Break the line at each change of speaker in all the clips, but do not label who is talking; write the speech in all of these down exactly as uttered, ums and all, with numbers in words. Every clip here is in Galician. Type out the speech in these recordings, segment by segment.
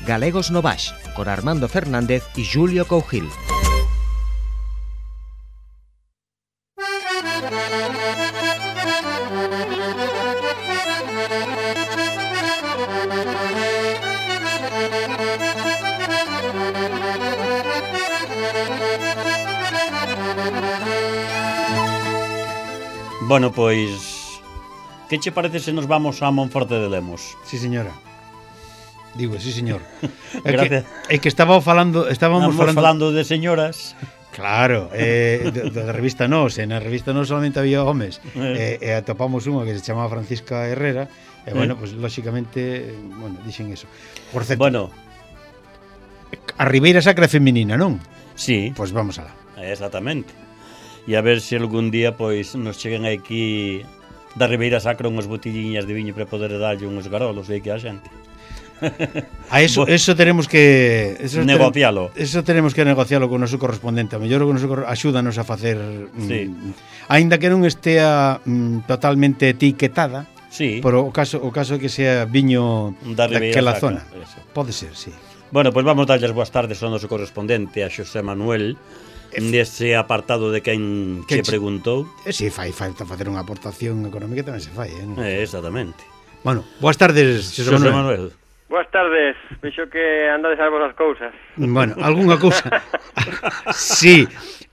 Galegos no Baix, con Armando Fernández y Julio Cougil.
Bueno, pois, que che parece se nos vamos a Monforte de Lemos?
Sí, señora. Digo, sí, señor. É
Gracias.
que, é que estaba falando, estábamos
Estamos
falando...
falando de señoras.
Claro, eh, de, de revista Nos, e na revista Nos solamente había homes.
Eh.
E eh, atopamos unha que se chamaba Francisca Herrera, e bueno,
Eh.
pues lógicamente, bueno, dixen eso. Por certo,
Bueno,
a Ribeira Sacra é feminina, non?
sí,
Pois pues vamos alá.
exactamente. E a ver se algún día pois nos cheguen aquí da Ribeira Sacra unhas botelliñas de viño para poder darlle uns garolos aí que a xente.
A eso,
Bo-
eso tenemos que eso
Negocialo.
Tenemos, eso tenemos que negocialo con o noso correspondente. A mellor o noso cor- axúdanos a facer
Sí.
mm, aínda que non estea mm, totalmente etiquetada,
Sí,
pero o caso o caso é que sea viño
da Ribeira
daquela
Sacra,
zona.
eso.
Pode ser, sí.
Bueno, pois vamos darlles boas tardes ao noso correspondente, a Xosé Manuel, nese apartado de quen
Que
che
che-
preguntou.
E si fai falta facer unha aportación económica tamén se fai, eh? Non?
Eh, exactamente.
Bueno, boas tardes, Xosé
Xosé
Manuel.
Manuel.
Boas tardes, vexo que andades a vos as cousas.
Bueno, algunha cousa. Sí,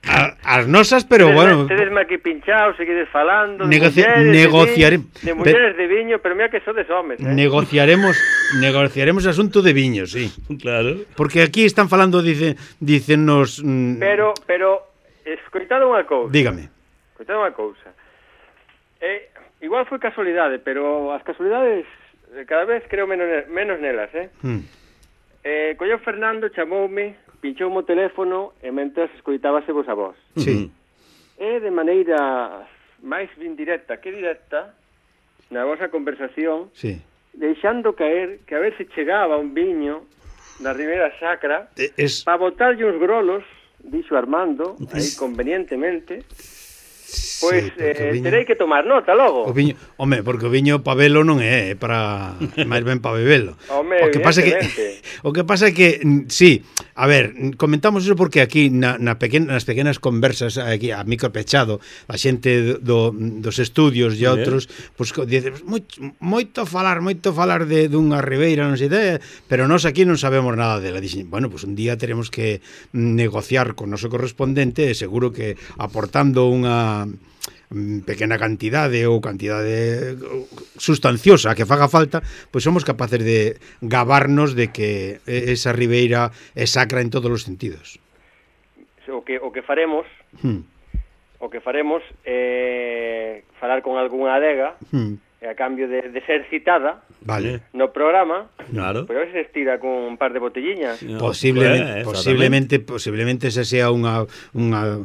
a, as nosas, pero
tedes,
bueno,
Tedes aquí pinchados, seguides falando de
Negoci-
mulleres,
negociare-
de, viño, de mulleres de viño, pero mira que sodes homes, eh?
negociaremos negociaremos asunto de viño, sí.
Claro.
Porque aquí están falando, dice, dicennos mm,
Pero, pero, escoitado unha cousa.
dígame.
Escoitado unha cousa. Eh, igual foi casualidade, pero as casualidades eh, cada vez creo menos, menos nelas, eh?
Mm.
Eh, colleu Fernando, chamoume, pinchou o teléfono e mentres escoitábase vos a vos.
Sí.
E de maneira máis bien directa que directa, na vosa conversación,
Sí.
deixando caer que a ver se chegaba un viño da Ribeira Sacra
Eh, Es
para botarlle uns grolos, dixo Armando, aí convenientemente, pois
sí, porque o
eh,
viño-
terei que tomar nota logo.
O viño, home, porque o viño pa velo non é, é para máis ben pa bebelo.
Home,
o que pasa é que
evidentemente.
o que pasa é que mm, sí, a ver, mm, comentamos eso porque aquí na, na pequena, nas pequenas conversas aquí a micro pechado, a xente do, dos estudios e
Sí.
outros, pois pues, dice, moito, moito falar, moito falar de dunha ribeira, non sei de, pero nós aquí non sabemos nada dela. Dixen, bueno, pues un día teremos que negociar con o noso correspondente e seguro que aportando unha mm, pequena cantidade ou cantidade sustanciosa que faga falta, pois somos capaces de gabarnos de que esa ribeira é sacra en todos os sentidos.
O que, o que faremos,
Hmm.
o que faremos é falar con algunha adega
Hmm.
e a cambio de, de ser citada
Vale.
no programa,
Claro.
pois a ver se estira con un par de botelliñas.
Posiblemente,
Eh,
posiblemente, posiblemente esa sea unha unha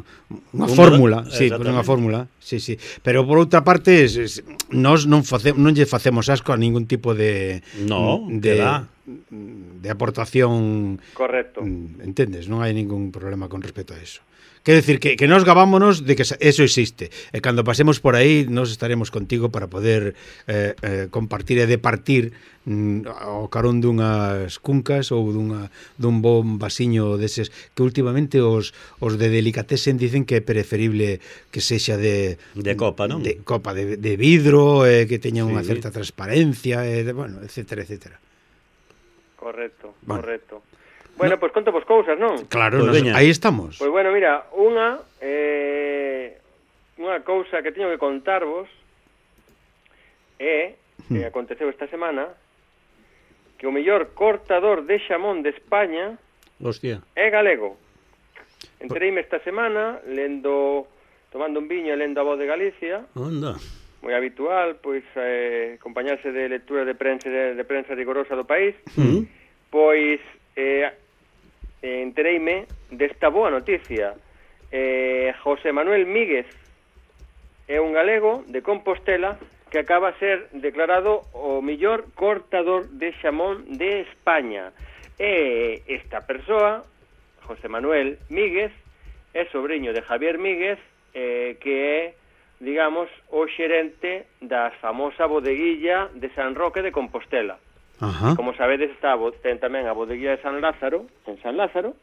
unha
Un
fórmula,
modo-
sí,
exactamente.
unha fórmula, sí, sí. Pero por outra parte, es, es, nós non face, non lle facemos asco a ningún tipo de
No,
de
que va.
de aportación,
Correcto.
entendes? Non hai ningún problema con respecto a eso. Quero decir que, que nos gavámonos de que eso existe. E cando pasemos por aí, nos estaremos contigo para poder eh, eh, compartir e departir mm, ao carón dunhas cuncas ou dunha, dun bon vasiño deses que últimamente os, os de delicatessen dicen que é preferible que sexa de...
De copa, non?
De copa de, de vidro, eh, que teña unha
Sí.
certa transparencia, eh, de, bueno, etcétera, etcétera.
Correcto,
Bueno.
correcto. Bueno, pois pues conto vos cousas, non?
Claro,
Pois
nos,
veña.
aí estamos.
Pois bueno, mira, unha eh, unha cousa que teño que contarvos é que aconteceu esta semana que o mellor cortador de xamón de España
Hostia.
é galego. Entereime esta semana lendo, tomando un viño e lendo a Voz de Galicia,
Onda.
moi habitual, pois eh, acompañarse de lectura de prensa de, de prensa rigorosa do país.
Mm.
Pois eh, entereime desta boa noticia. Eh, José Manuel Míguez é un galego de Compostela que acaba a ser declarado o mellor cortador de xamón de España. E esta persoa, José Manuel Míguez, é sobrinho de Javier Míguez, eh, que é, digamos, o xerente da famosa bodeguilla de San Roque de Compostela.
Ajá.
Como sabedes, está, a bo- ten tamén a bodeguilla de San Lázaro, en San Lázaro,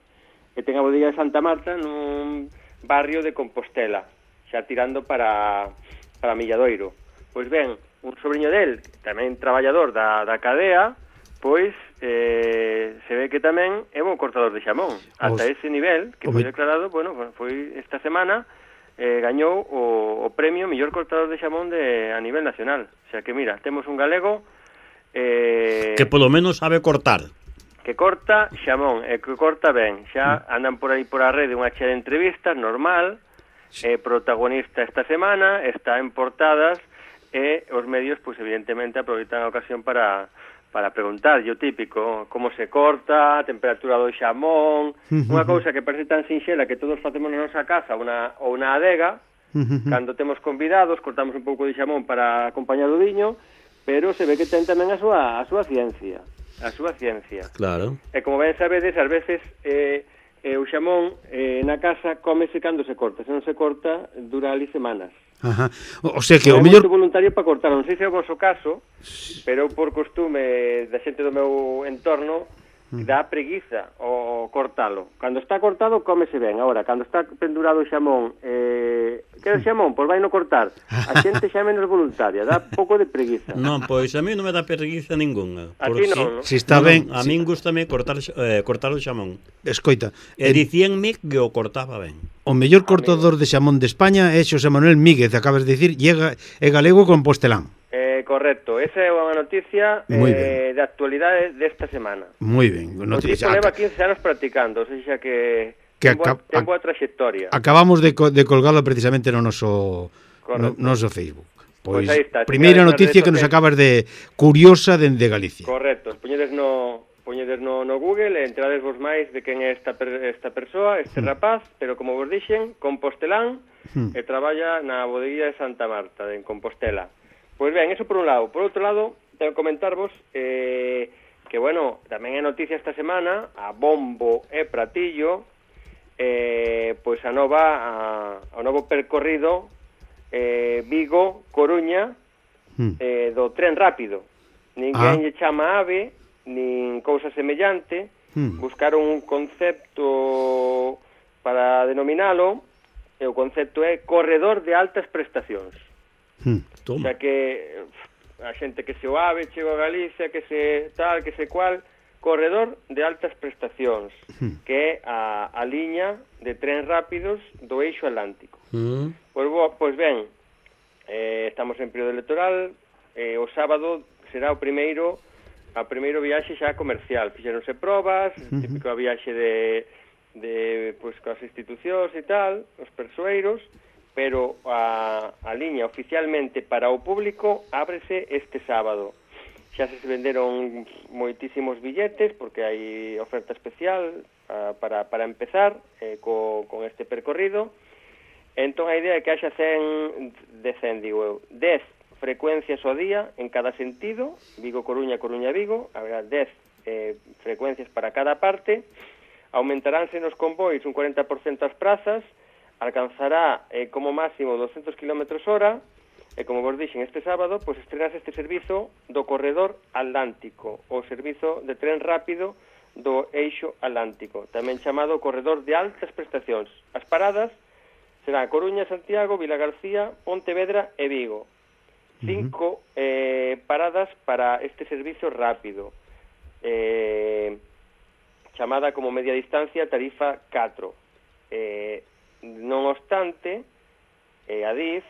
e ten a bodeguilla de Santa Marta nun barrio de Compostela, xa tirando para, para Milladoiro. Pois ben, un sobrinho del, tamén traballador da, da cadea, pois eh, se ve que tamén é bon cortador de xamón. Ata
Os...
ese nivel, que
o
foi
me...
declarado, bueno, foi esta semana, eh, gañou o, o premio mellor cortador de xamón de, a nivel nacional. O sea que, mira, temos un galego eh,
Que polo menos sabe cortar.
que corta xamón, e que corta ben. Xa andan por aí por a rede unha chea de entrevistas, normal, eh, protagonista esta semana, está en portadas, e os medios, pois, evidentemente, aproveitan a ocasión para, para preguntar, o típico, como se corta, a temperatura do xamón, unha cousa que parece tan sinxela que todos facemos na nosa casa, una, ou na adega, cando temos convidados, cortamos un pouco de xamón para acompañar o viño, pero se ve que ten tamén a súa, a súa ciencia, a súa ciencia.
Claro.
E como ben sabedes, ás veces eh, eh, o xamón eh, na casa cómese cando se corta, se non se corta, dura ali semanas.
Ajá. O sea que
Non
o
é
mellor...
moito voluntario para cortar, non sei se é o vosso caso, pero por costume da xente do meu entorno, dá preguiza o cortalo. Cando está cortado, cómese ben. Agora, cando está pendurado o xamón, eh, quero xamón, pois vai no cortar. A xente xa é menos voluntaria, dá pouco de preguiza.
Non, pois a mí non me dá preguiza ninguna.
A ti non, non?
Si está
non,
ben...
A
si...
min gustame cortar, eh, cortar o xamón.
Escoita,
E
eh,
dicíanme que o cortaba ben.
o mellor cortador de xamón de España é Xosé Manuel Míguez, acabas de dicir, llega, é galego compostelán.
Eh, correcto, esa é unha noticia eh, de actualidade desta semana.
Moi ben.
O tipo
Noticia.
leva quince anos practicando, ou seja que,
Que
ten, boa,
acab-
ten boa trayectoria.
Acabamos de, co de colgalo precisamente no noso, no,
Correcto.
noso Facebook.
Pois
Pois,
aí está,
primeira
señores,
noticia
nas
que nos
redes
acabas de curiosa dende Galicia.
Correcto, poñedes no, poñedes no, no Google e entrades vos máis de quen é esta, per, esta persoa, este rapaz, pero como vos dixen, compostelán,
Hmm.
e traballa na bodeguilla de Santa Marta, en Compostela. Pois ben, eso por un lado. Por outro lado, tengo que comentarvos eh, que, bueno, tamén é noticia esta semana, a bombo e pratillo, eh, pois a nova, a, o novo percorrido eh, Vigo-Coruña
Hmm.
eh, do tren rápido. Ninguén
Ah.
lle chama AVE, nin cousa semellante,
Hmm.
buscaron un concepto para denominalo, e o concepto é corredor de altas prestacións.
Hmm.
O
Toma.
sea que a xente que se o AVE, chego a Galicia, que se tal, que se cual, corredor de altas prestacións, que é a, a liña de tren rápidos do eixo atlántico.
Mm.
Pois, bo, pois ben, eh, estamos en período electoral, eh, o sábado será o primeiro a primeiro viaxe xa comercial. Fixeronse probas, uh-huh. típico a viaxe de, de pois, coas institucións e tal, os persoeiros, pero a, a liña oficialmente para o público ábrese este sábado. Xa se venderon moitísimos billetes porque hai oferta especial uh, para, para empezar eh, co, con este percorrido. Entón a idea é que haxa cen, de cen, digo eu, dez frecuencias ao día en cada sentido, Vigo-Coruña, Coruña-Vigo, haberá dez eh, frecuencias para cada parte, aumentaránse nos convois un cuarenta por cento as prazas, alcanzará eh, como máximo doscientos kilómetros hora, e como vos dixen este sábado, pois estrenase este servizo do corredor atlántico, o servizo de tren rápido do eixo atlántico, tamén chamado corredor de altas prestacións. As paradas serán Coruña, Santiago, Vilagarcía, Pontevedra e Vigo. Cinco eh, paradas para este servizo rápido, eh, chamada como media distancia tarifa catro. Eh, non obstante, eh, a D I F,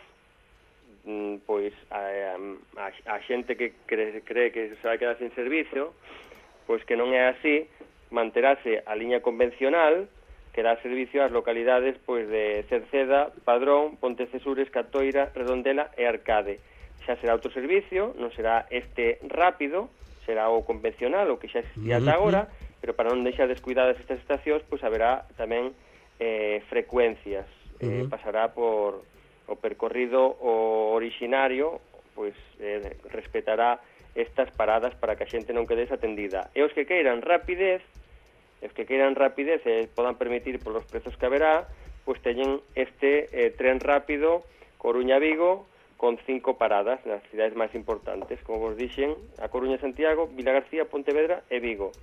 mm, pois a, a, a xente que cree, cree que se vai quedar sin servicio, pois que non é así, manterase a liña convencional que dá servicio ás localidades pois de Cerceda, Padrón, Pontecesures, Catoira, Redondela e Arcade. Xa será outro servicio, non será este rápido, será o convencional, o que xa existía ata agora, pero para non deixar descuidadas estas estacións, pois haberá tamén eh, frecuencias. Eh,
Uh-huh.
pasará por o percorrido o orixinario, pois eh, respetará estas paradas para que a xente non quede desatendida. E os que queiran rapidez, os que queiran rapidez e podan permitir polos prezos que haberá, pois teñen este eh, tren rápido Coruña-Vigo con cinco paradas nas cidades máis importantes, como vos dixen, A Coruña, Santiago, Vilagarcía, Pontevedra e Vigo.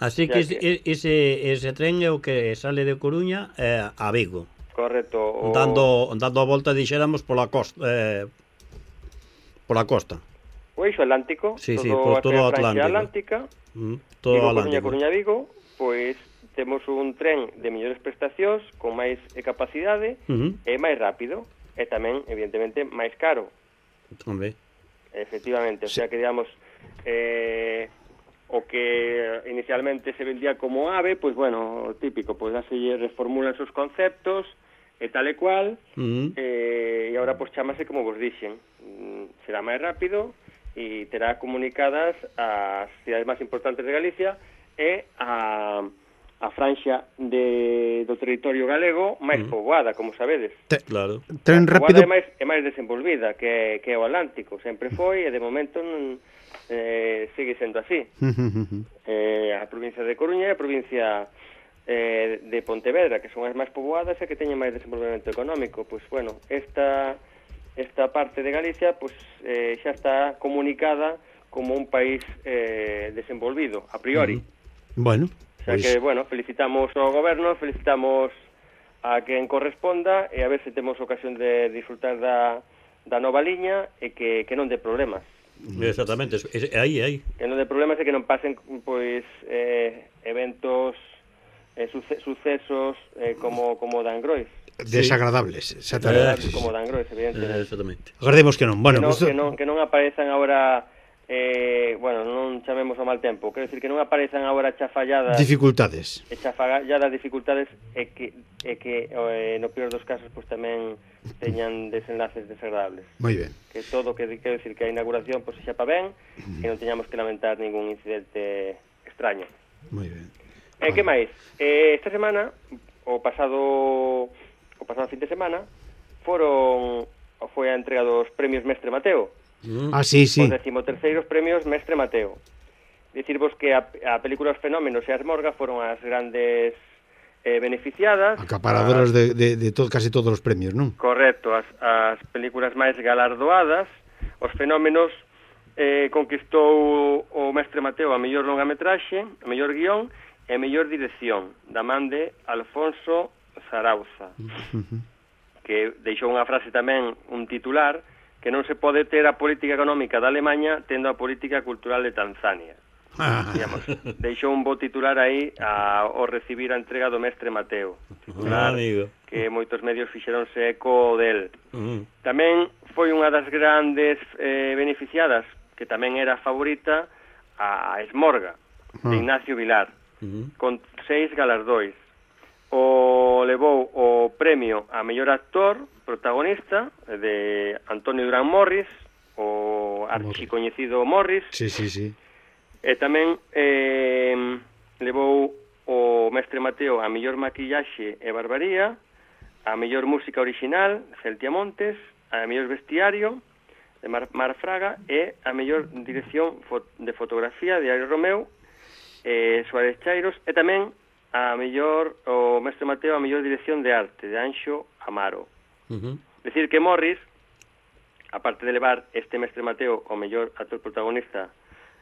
Así que, que... Ese, ese tren é o que sale de Coruña eh, a Vigo.
Correcto. O...
Dando, dando a volta, dixéramos, pola costa. Eh, pola costa.
O eixo Atlántico,
sí,
todo
sí, por todo o Atlántico.
Atlántica,
mm, todo
Vigo,
Atlántico.
Coruña, Coruña, Vigo, pois temos un tren de mellores prestacións, con máis capacidade
uh -huh.
e máis rápido. E tamén, evidentemente, máis caro.
Tamén.
Efectivamente, o sea que, digamos, eh, o que inicialmente se vendía como AVE, pois, bueno, típico, pois, así reformulan os conceptos, e tal e cual,
uh -huh.
eh, e agora, pois, chamase como vos dixen. Será máis rápido e terá comunicadas as cidades máis importantes de Galicia e a... a franxa de, do territorio galego máis mm. poboada, como sabedes.
Te,
claro.
Tren rápido...
É máis, é máis desenvolvida que, que o Atlántico. Sempre foi e de momento non, eh, sigue sendo así. eh, a provincia de Coruña e a provincia eh, de Pontevedra, que son as máis poboadas e que teñen máis desenvolvemento económico. Pois, bueno, esta, esta parte de Galicia pues, eh, xa está comunicada como un país eh, desenvolvido, a priori.
Mm. Bueno...
O sea que, bueno, felicitamos ao goberno, felicitamos a quen corresponda e a ver se temos ocasión de disfrutar da, da nova liña e que, que non dé problemas.
Exactamente, é aí, aí.
Que non dé problemas e que non pasen, pois, eh, eventos, eh, suce, sucesos eh, como, como Dangrois.
Desagradables, exactamente.
Como Dangrois, evidentemente.
Eh, exactamente.
Agardemos que non. Bueno,
que, non,
pues...
que, non, que non aparezan agora... Eh, bueno, non chamemos ao mal tempo, quero decir que non aparezan agora chafalladas
dificultades
e chafalladas dificultades e que, e que eh, no peor dos casos pues, tamén teñan desenlaces desagradables.
Moi ben.
Que todo, que quero decir que a inauguración pues, xa pa ben e non teñamos que lamentar ningún incidente extraño.
Moi ben.
E eh, que máis? Eh, esta semana, o pasado o pasado fin de semana foron foi a entrega dos premios Mestre Mateo.
Ah, sí, sí.
Os decimoterceiros premios Mestre Mateo. Dicirvos que a, a película Os Fenómenos e a Asmorga foron as grandes eh, beneficiadas.
Acaparadoras as, de, de, de to, casi todos os premios, non?
Correcto, as, as películas máis galardoadas. Os Fenómenos eh, conquistou o Mestre Mateo a mellor longametraxe, a mellor guión e a mellor dirección, da man de Alfonso Zarauza, uh -huh. que deixou unha frase tamén, un titular, que non se pode ter a política económica da Alemanha tendo a política cultural de Tanzania. Ah. Digamos, deixou un bo titular aí a, ao recibir a entrega do Mestre Mateo. Titular,
ah,
que moitos medios fixeronse eco del.
Uh -huh.
Tamén foi unha das grandes eh, beneficiadas, que tamén era favorita, a Esmorga, uh -huh. de Ignacio Vilar, uh -huh. con seis galardois. O levou o premio a mellor actor protagonista de Antonio Durán Morris, o archicoñecido Morris.
Sí, sí, sí.
E tamén eh, levou o Mestre Mateo a mellor maquillaxe e barbaría, a mellor música original, Celtia Montes, a mellor vestiario, de Mar, Mar Fraga, e a mellor dirección de fotografía de Ari Romeu, eh, Suárez Chairos, e tamén a mellor, o Mestre Mateo a mellor dirección de arte, de Anxo Amaro. Uh -huh. Decir que Morris, aparte de levar este Mestre Mateo o mellor actor protagonista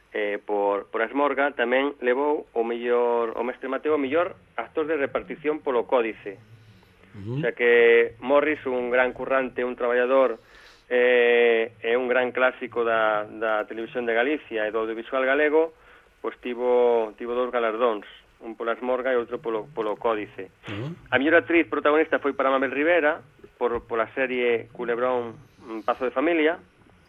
eh, por, por Asmorga, tamén levou o mellor o Mestre Mateo o mellor actor de repartición polo Códice. Uh -huh. O sea que Morris, un gran currante, un traballador, eh, e un gran clásico da, da televisión de Galicia e do audiovisual galego, pois tivo, tivo dos galardóns, un pola Asmorga e outro polo, polo Códice. Uh -huh. A mellor actriz protagonista foi para Mabel Rivera, por, por a serie Culebrón Pazo de Familia,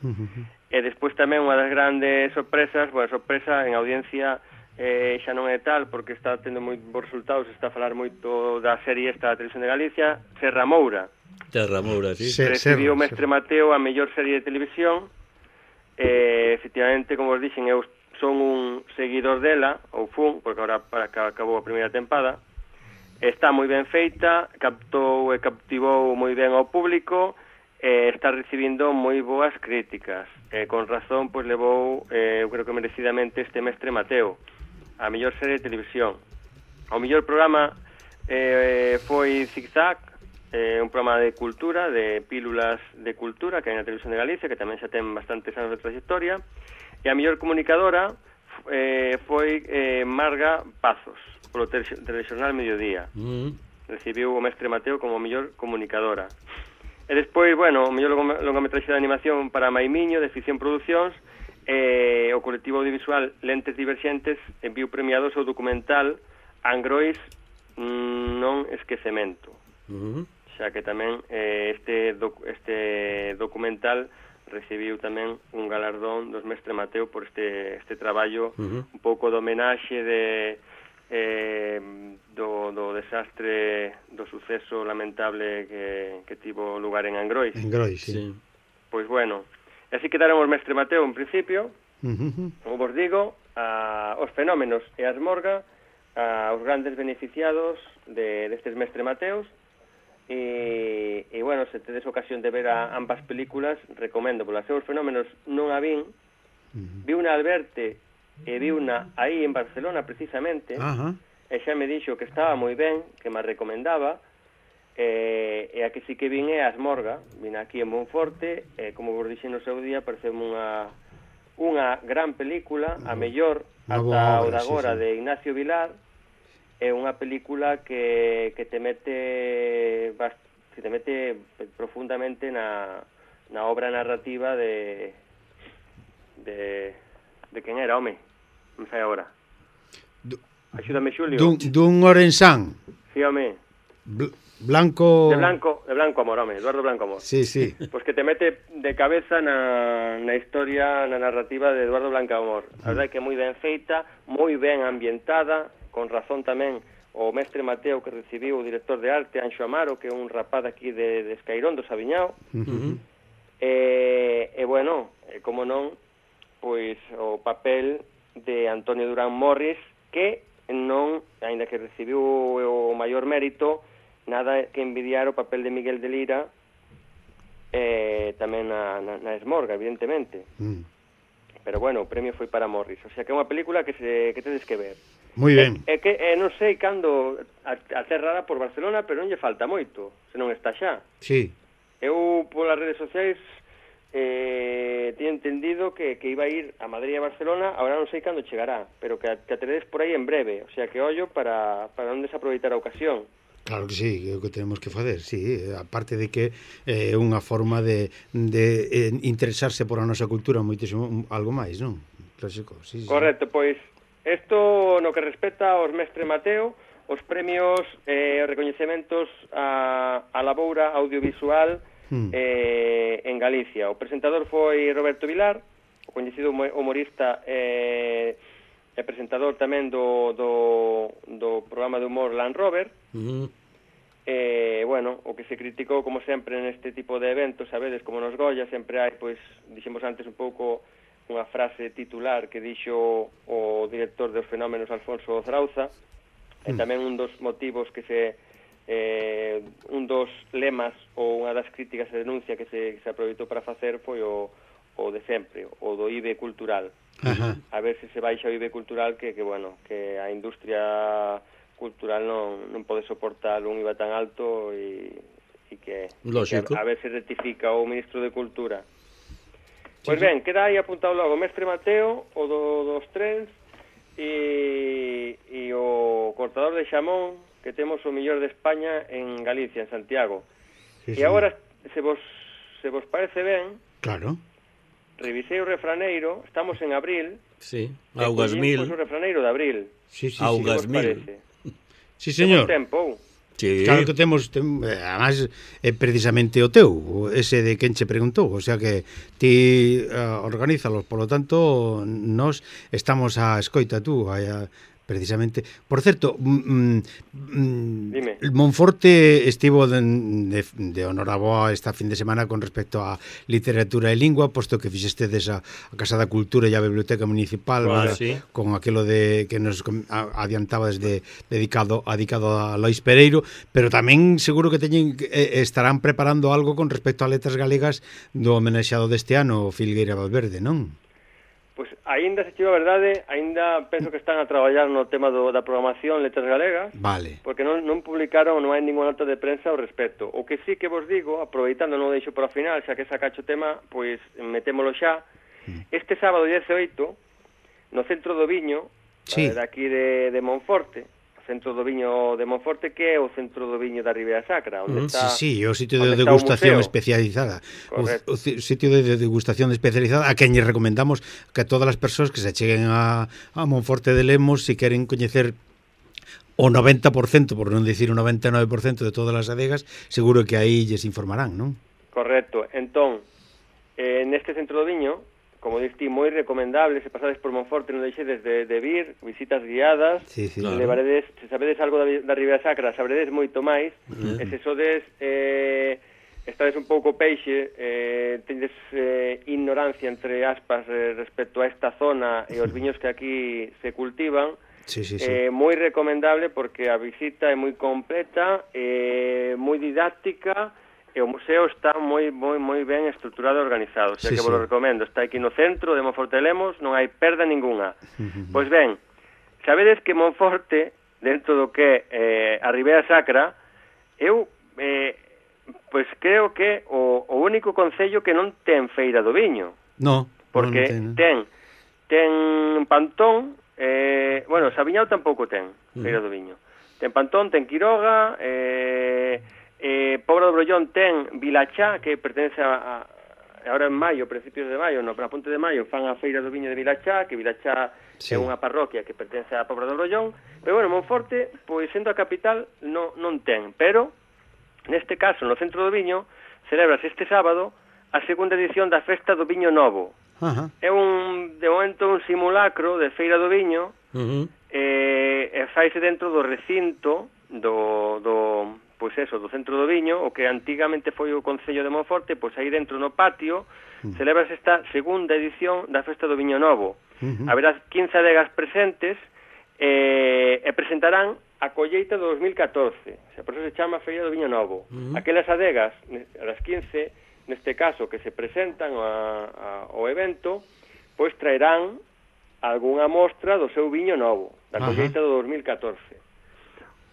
uh -huh. e despois tamén unha das grandes sorpresas, boa sorpresa en audiencia eh, xa non é tal, porque está tendo moi bons resultados, está a falar moito da serie esta da Televisión de Galicia, Serra Moura.
Serra Moura, sí.
Se,
Recibiu o Mestre Mateo a mellor serie de televisión, e efectivamente, como vos dixen, eu son un seguidor dela, ou fun, porque agora para que acabou a primeira tempada. Está moi ben feita, captou e captivou moi ben ao público, e está recibindo moi boas críticas. E con razón, pois levou, eh, eu creo que merecidamente, este Mestre Mateo, a mellor serie de televisión. O mellor programa eh, foi Zigzag, eh, un programa de cultura, de pílulas de cultura, que hai na Televisión de Galicia, que tamén xa ten bastantes anos de trayectoria, e a mellor comunicadora eh, foi eh, Marga Pazos, polo Telexornal Mediodía. Mm. Recibiu o mestre Mateo como mellor comunicadora. E despois, bueno, o mellor longametraxe de animación para Maimiño, de Ficción Producións, eh, o colectivo audiovisual Lentes Diverxentes enviou premiado o seu documental Angrois non esquecemento. Uh-huh. Xa que tamén eh, este, doc, este documental recibiu tamén un galardón dos mestre Mateo por este, este traballo, uh-huh. un pouco de homenaxe de eh, do, do desastre, do suceso lamentable que, que tivo lugar en Angrois.
Angrois, sí. sí.
Pois bueno, así quedaron os mestre Mateo en principio, uh-huh. como vos digo, a, os fenómenos e as morga, a, os grandes beneficiados de destes mestre Mateos, e, e bueno, se tedes ocasión de ver a ambas películas, recomendo, polas seus fenómenos non a vin, uh-huh. vi unha Alberte e vi unha aí en Barcelona precisamente, uh-huh. e xa me dixo que estaba moi ben, que me recomendaba, e, e a que sí que vin é As Morga, vin aquí en Monforte, e como vos dixen no seu día, pareceu unha unha gran película, a mellor ata o de agora sí, sí. de Ignacio Vilar, é unha película que, que te mete que te mete profundamente na, na obra narrativa de de de quen era, home, non sei agora. Axúdame, Xulio.
Dun, dun Orensán.
Sí, home.
Bl Blanco...
De Blanco, de Blanco Amor, home, Eduardo Blanco Amor.
Sí, sí.
Pois que te mete de cabeza na, na historia, na narrativa de Eduardo Blanco Amor. A verdade é que é moi ben feita, moi ben ambientada, con razón tamén o mestre Mateo que recibiu o director de arte, Anxo Amaro, que é un rapaz aquí de, de Escairón, do Sabiñao. Uh-huh. e, e, bueno, e como non, pois o papel de Antonio Durán Morris, que non, aínda que recibiu o maior mérito, nada que envidiar o papel de Miguel de Lira, eh, tamén na, na, na Esmorga, evidentemente. Mm. Pero bueno, o premio foi para Morris. O sea que é unha película que se que tedes que ver.
Moi ben.
É, é que eh, non sei cando aterrará por Barcelona, pero non lle falta moito, se non está xa.
Sí.
Eu polas redes sociais eh, teño entendido que, que iba a ir a Madrid e a Barcelona, agora non sei cando chegará, pero que, que ateredes por aí en breve, o sea que ollo para, para non desaproveitar a ocasión.
Claro que sí, é o que tenemos que fazer, sí, aparte de que é eh, unha forma de, de eh, interesarse por a nosa cultura moitísimo, algo máis, non? Clásico, sí, sí.
Correcto, pois isto no que respecta aos mestre Mateo, os premios e eh, recoñecementos a, a laboura audiovisual hmm. eh, en Galicia. O presentador foi Roberto Vilar, o coñecido humorista e eh, presentador tamén do, do, do programa de humor Land Rover. Uh-huh. Eh, bueno, o que se criticou, como sempre, neste tipo de eventos, sabedes, como nos Goya, sempre hai, pois, dixemos antes un pouco unha frase titular que dixo o director dos fenómenos Alfonso Zrauza, uh-huh. e tamén un dos motivos que se... Eh, un dos lemas ou unha das críticas e denuncia que se, que se aproveitou para facer foi o, o de sempre, o do I B E cultural. Ajá. A ver se se baixa o I B E cultural que, que bueno, que a industria cultural non, non pode soportar un I V A tan alto e, e que, que a, a ver se rectifica o ministro de Cultura. Pois sí, ben, queda aí apuntado logo mestre Mateo, o do, dos trens e, e o cortador de xamón, que temos o mellor de España en Galicia, en Santiago. Sí, e sí. Agora, se vos, se vos parece ben,
claro,
revisei o refraneiro, estamos en abril.
Sí, augas mil.
Pois o refraneiro de abril.
Sí, sí, augas
sí,
mil.
Sí, señor.
Temos tempo.
Sí. Claro que temos, tem, además, é precisamente o teu, ese de quen che preguntou, o sea que ti uh, organízalos, polo tanto, nós estamos a escoita tú, a, a precisamente. Por certo, mm, mm, Monforte estivo de, de, de honoraboa esta fin de semana con respecto a literatura e lingua, posto que fixestedes a, a Casa da Cultura e a Biblioteca Municipal,
ah,
¿verdad?
Sí.
Con aquilo de que nos adiantaba desde dedicado, dedicado a Lois Pereiro, pero tamén seguro que teñen eh, estarán preparando algo con respecto a letras galegas do homenaxeado deste ano, Filgueira Valverde, non?
Pois aínda, se chiva a verdade, aínda penso que están a traballar no tema do, da programación Letras Galegas,
Vale.
porque non, non publicaron, non hai ninguna nota de prensa ao respecto. O que sí que vos digo, aproveitando, non o deixo para o final, xa que sacacho o tema, pois metémolo xa. Este sábado diecioito, no Centro do Viño,
Sí.
eh, daqui de, de Monforte, o Centro do Viño de Monforte, que é o Centro do Viño da Ribeira Sacra, onde
Mm,
está...
Sí, sí, o sitio de
onde está o
degustación
museo.
especializada. O,
Correcto.
o ci- sitio de, de degustación especializada a quen lle recomendamos que a todas as persoas que se cheguen a, a Monforte de Lemos, se queren coñecer o noventa por cento, por non dicir o noventa e nove por cento de todas as adegas, seguro que aí lles informarán, non?
Correcto. Entón, eh, neste Centro do Viño, como diste, moi recomendable, se pasades por Monforte, non deixedes de, de vir, visitas guiadas,
Sí, sí.
Claro.
levaredes, se sabedes algo da, da Ribeira Sacra, sabredes moito máis, e se sodes, eh, estades un pouco peixe, eh, tendes eh, ignorancia, entre aspas, eh, respecto a esta zona e os viños que aquí se cultivan,
Sí, sí, sí.
eh, moi recomendable porque a visita é moi completa, eh, moi didáctica, e o museo está moi moi moi ben estruturado e organizado, o sea
Sí,
que
sí.
vos lo recomendo. Está aquí no centro de Monforte de Lemos, non hai perda ninguna. Pois ben, sabedes que Monforte, dentro do que é eh, a Ribeira Sacra, eu eh, pois creo que o, o único concello que non ten feira do viño,
No,
porque
non, non ten,
ten ten Pantón, eh, bueno, Sabiñao tampouco ten feira do viño. Ten Pantón, ten Quiroga, eh, eh, Pobra do Brollón ten Vilachá, que pertence a, a agora en maio, principios de maio, no, na Ponte de Maio, fan a feira do viño de Vilachá, que Vilachá
Sí.
é unha parroquia que pertence a Pobra do Brollón, pero bueno, Monforte, pois sendo a capital, non, non ten, pero neste caso, no Centro do Viño, celebrase este sábado a segunda edición da Festa do Viño Novo.
Ajá.
É un, de momento, un simulacro de Feira do Viño,
Uh -huh.
eh, e faise dentro do recinto do, do, pois eso, do Centro do Viño, o que antigamente foi o Concello de Monforte, pois aí dentro no patio, celebrase esta segunda edición da Festa do Viño Novo.
Uh-huh.
Haberá quince adegas presentes, eh, e presentarán a colleita do dos mil catorce, o sea, por eso se chama Feira do Viño Novo.
Uh-huh.
Aquelas adegas, as quince, neste caso, que se presentan a, a, ao evento, pois traerán algunha mostra do seu viño novo, da colleita do dos mil catorce.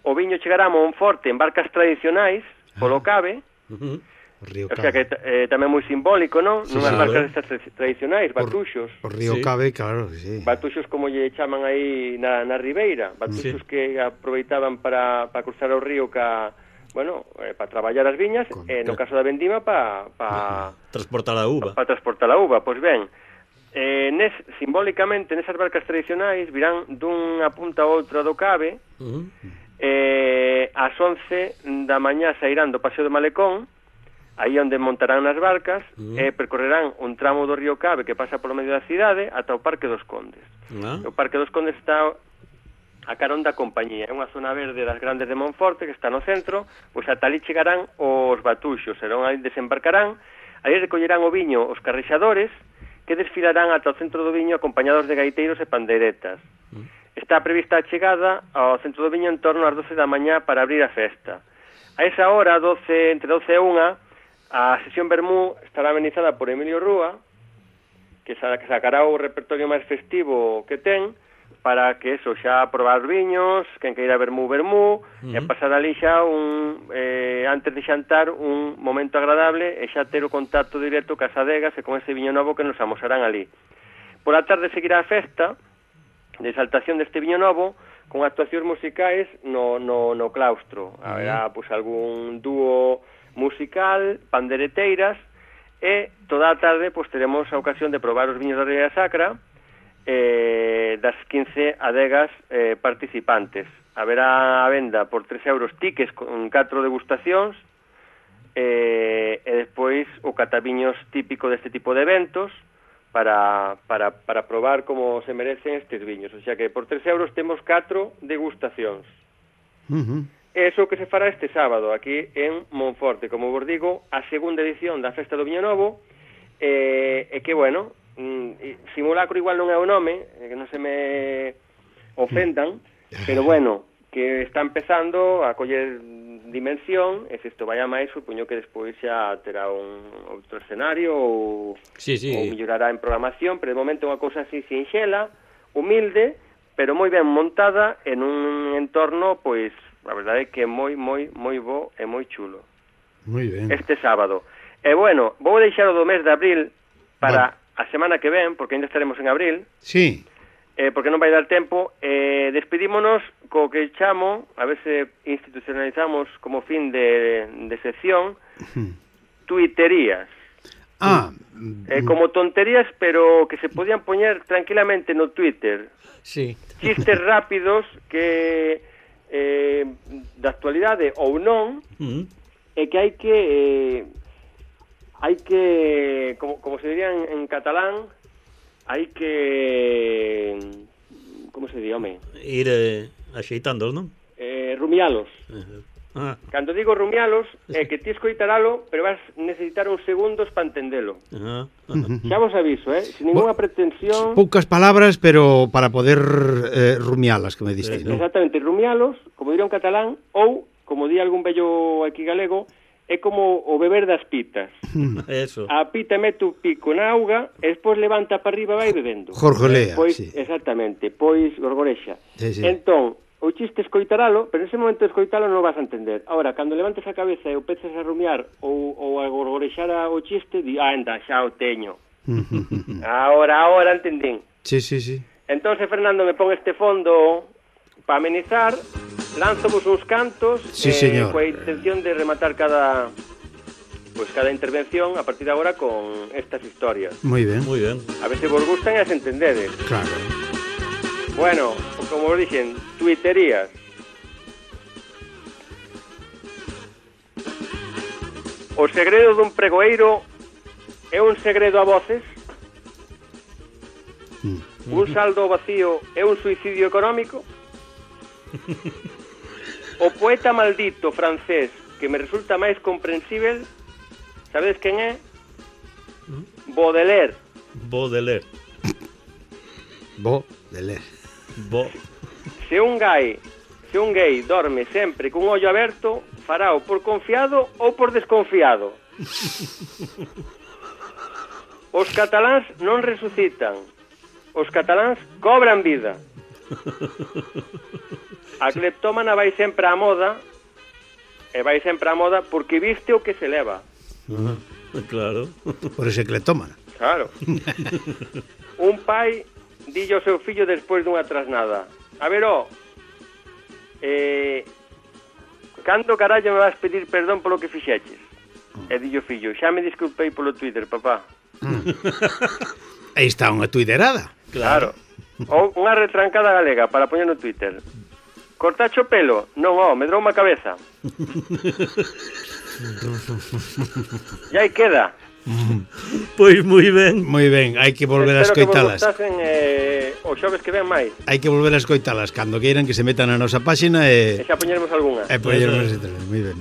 O viño chegará a Monforte en barcas tradicionais, polo cabe,
Uh -huh.
O río
o sea que
Cabe.
eh, tamén moi simbólico, non?
Sí,
Nunhas
sí,
barcas
eh.
estas tra- tradicionais, batuxos.
O río
Sí.
Cabe, claro, sí.
Batuxos como lle chaman aí na, na Ribeira, batuxos
Sí.
que aproveitaban para, para cruzar o río ca, bueno, eh, para traballar as viñas,
Con-
e no caso da vendima para pa,
Transportar a uva.
para transportar a uva. Pois ben, eh, nes, simbólicamente nesas barcas tradicionais virán dunha punta a outra do Cabe,
Uh -huh.
eh, ás once da mañá sairán do Paseo de Malecón, aí onde montarán nas barcas,
Mm.
e percorrerán un tramo do río Cabe que pasa polo medio da cidade ata o Parque dos Condes.
Ah.
O Parque dos Condes está a carón da compañía, é unha zona verde das grandes de Monforte que está no centro, pois ata ali chegarán os batuxos, serón aí desembarcarán, aí recollerán o viño os carrexadores, que desfilarán ata o centro do viño acompañados de gaiteiros e pandeiretas. Está prevista a chegada ao centro do viño en torno ás doce da mañá para abrir a festa. A esa hora, doce, entre doce e unha, a sesión Vermú estará amenizada por Emilio Rúa, que sacará o repertorio máis festivo que ten, para que eso, xa probar viños, quen queira vermú, vermú, uh-huh. e pasar ali xa un, eh, antes de xantar, un momento agradable e xa ter o contacto directo cas adegas e con ese viño novo que nos amosarán ali. Por a tarde seguirá a festa de exaltación deste viño novo con actuacións musicais no, no, no claustro. Uh-huh. Haberá pues, algún dúo musical, pandereteiras, e toda a tarde pues, teremos a ocasión de probar os viños da Ribeira Sacra, Eh, das quince adegas eh, participantes. Haberá a venda por tres euros tickets con catro degustacións eh, e despois o cataviños típico deste tipo de eventos para, para, para probar como se merecen estes viños. O sea que por tres euros temos catro degustacións.
Uh-huh.
Eso que se fará este sábado aquí en Monforte, como vos digo, a segunda edición da Festa do Viño Novo, eh, e que, bueno, mm, simulacro igual non é o nome, eh, que non se me ofendan, pero bueno, que está empezando a coller dimensión, e se isto vai a máis, supoño que despois xa terá un outro escenario ou,
Sí, sí.
ou mellorará en programación, pero de momento é unha cousa así sinxela, humilde, pero moi ben montada en un entorno, pois, a verdade é que é moi, moi, moi bo e moi chulo.
Moi ben.
Este sábado. E bueno, vou deixar o do mes de abril para
Bueno.
a semana que ven, porque ainda estaremos en abril,
Sí.
eh, porque non vai dar tempo, eh, despedímonos co que chamo, a ver se institucionalizamos como fin de, de sección, tuiterías.
Ah,
Eh, como tonterías, pero que se podían poñer tranquilamente no Twitter.
Sí.
Chistes rápidos que eh, da actualidade ou non,
Mm.
e que hai que eh, hai que como, como se diría en, en catalán, hai que como se di, home,
Ir eh, axeitándolos, non?
eh, rumialos.
Uh-huh. Ah,
Cando digo rumialos é que ti escoitaralo, pero vas necesitar uns segundos para entendelo.
uh-huh.
Xa vos aviso, eh, sin ninguna pretensión.
poucas palabras, pero para poder eh, rumialas, que me diste, ¿no?
Exactamente, rumialos, como diría un catalán, ou, como di algún bello aquí galego, é como o beber das pitas.
Eso.
A pita mete o pico na auga e despois levanta para arriba e vai bebendo.
Jorgolea,
Pois,
sí.
Exactamente, pois gorgorexa.
Sí, sí.
Entón, o chiste escoitaralo, pero nese momento de escoitalo non vas a entender. Ahora, cando levantes a cabeza e o peces a rumiar ou, ou a gorgorexar o chiste, di, ah, anda, xa o teño. Ahora, ahora entendín.
Sí, sí, sí.
Entón, se Fernando me pon este fondo para amenizar, lánzovos uns cantos,
Sí,
eh,
señor.
coa intención de rematar cada pues cada intervención a partir de agora con estas historias.
Moi ben.
Moi ben.
A ver se vos gustan e as entendedes.
Claro.
Bueno, como vos dixen, tuiterías. O segredo dun pregoeiro é un segredo a voces?
Mm.
Un saldo vacío é un suicidio económico? O poeta maldito francés que me resulta máis comprensível, sabedes quen é? Baudelaire.
Baudelaire.
Bo de ler.
Bo.
Se un gay, se un gay dorme sempre cun ollo aberto, farao por confiado ou por desconfiado. Os cataláns non resucitan. Os cataláns cobran vida. A cleptómana vai sempre á moda, e vai sempre á moda porque viste o que se leva.
Uh-huh. Claro.
Por ese cleptómana.
Claro. Un pai dille ao seu fillo despois dunha trasnada: a ver, ó, eh, cando carallo me vas pedir perdón polo que fixeches? E dille o fillo: xa me disculpei polo Twitter, papá.
Aí está unha tuiterada.
Claro. Ou unha retrancada galega para poñer no Twitter: cortacho o pelo? Non, ó, me drou unha cabeza. E aí queda.
Pois moi ben.
Moi ben, hai que volver a
Espero que vos
escoitalas.
gustasen eh, o xoves que ven máis.
Hai que volver a escoitalas cando queiran, que se metan na nosa páxina
E
e
xa poñeremos algunha.
e poñernos ese tres. Moi ben.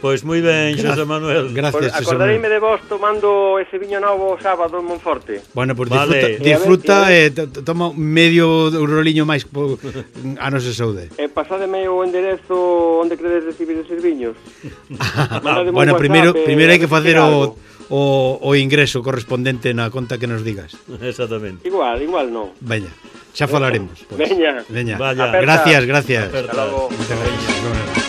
Pois moi ben, Xosé Manuel.
Gracias,
Pues
Xosé
acordareime
Manuel.
de vos tomando ese viño novo o sábado en Monforte.
Bueno, pues
Vale.
disfruta,
E a ver,
disfruta e toma medio roliño máis po, a nosa saúde.
E pasademe o enderezo onde credes recibir esos viños. Mandademe un
Bueno,
WhatsApp,
primeiro
eh,
primeiro hai que
a
facer
decir
o,
algo.
o, o ingreso correspondente na conta que nos digas.
Exactamente.
Igual, igual non.
Veña, xa falaremos. Pues.
Veña.
Veña.
Vaya.
Gracias, gracias.
Aperta.
Hasta logo.
Muchas gracias.